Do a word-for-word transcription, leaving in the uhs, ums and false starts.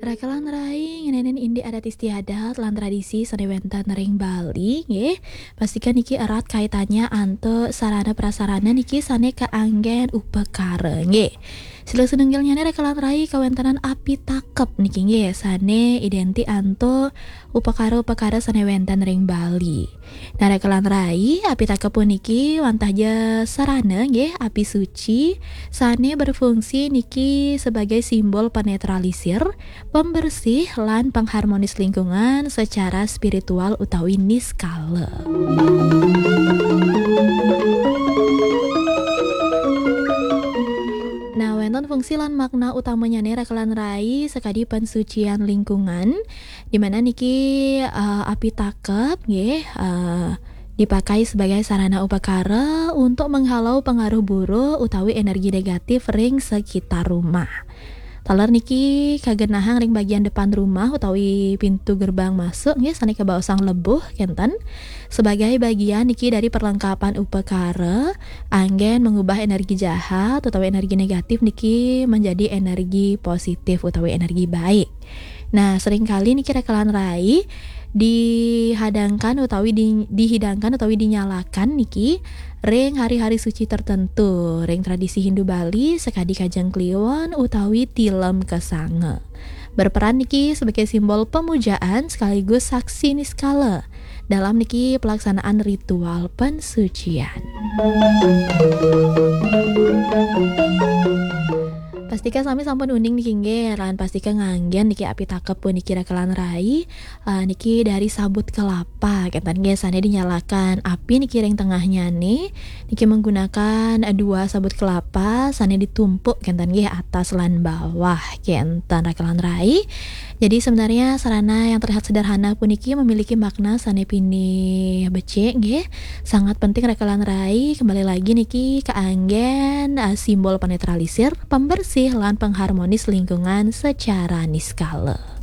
Raka lan rai, ngenénin indik adat istiadat lan tradisi sané wénten ring Bali, nggih. Pastika niki erat kaitannya antuk sarana prasarana niki sané kaanggén upakara, nggih. Silih sinunggilnyané raka lan rai kawéntenan apitakep niki, nggih, sané idéntik antuk upakara-upakara sané wénten ring Bali. Nah, raka lan rai, apitakep puniki wantah ja sarana, nggih, api suci, sané berfungsi niki sebagai simbol penetralisir, pembersih, lan pengharmonis lingkungan secara spiritual utawi niskala. Nah, wénten fungsi lan makna utamanyané raka lan rai sakadi pensucian lingkungan, di mana niki, eh, apitakep, nggih, eh, dipakai sebagai sarana upakara untuk menghalau pengaruh buruk utawi energi negatif ring sekitar rumah. Taler niki kagenahang ring bagian depan rumah utawi pintu gerbang masuk, nggih, sané kabaosang lebuh kénten. Sebagai bagian niki dari perlengkapan upakara, anggén mengubah energi jahat utawi energi negatif niki menjadi energi positif utawi energi baik. Nah, seringkali niki raka lan rai dihadangkan utawi di-, dihidangkan utawi dinyalakan niki ring hari-hari suci tertentu, ring tradisi Hindu Bali sakadi Kajeng Kliwon utawi Tilem Kesanga. Berperan niki sebagai simbol pemujaan sekaligus saksi niskala dalam niki pelaksanaan ritual pensucian. Pastika sami sampun uning niki, nggih, lan pastika nganggén niki apitakep puniki raka lan rai, eh, niki dari sabut kelapa, kénten, nggih, sané dinyalakan api niki ring tengahnyané, niki menggunakan, eh, dua sabut kelapa sané ditumpuk, kénten, nggih, atas lan bawah, kénten, raka lan rai. Jadi sebenarnya sarana yang terlihat sederhana puniki memiliki makna sané pinih becik, nggih. Sangat penting raka lan rai, kembali lagi niki kaanggén, eh, simbol penetralisir, pembersih, lan pengharmonis lingkungan secara niskala.